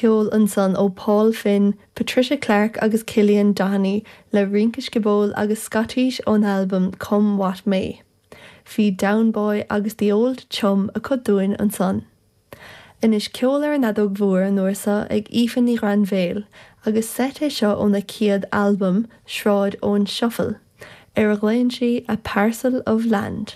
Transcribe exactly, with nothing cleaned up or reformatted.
Ceoil ansan ó Paul Finn, Patricia Clarke agus Cillian Doheny le rince sciobóil agus Scotís ón albam Come What May. Bhí Down Boy agus The Old Chum acu dúinn ansan. Anois ceol ar an fheadóg mhór an uair seo ag Aoife Ní Ghrainbhéil, agus seit é seo óna céad albam Sráid Eoin Shuffle, ar a ghlaonn sí a Parcel of Land.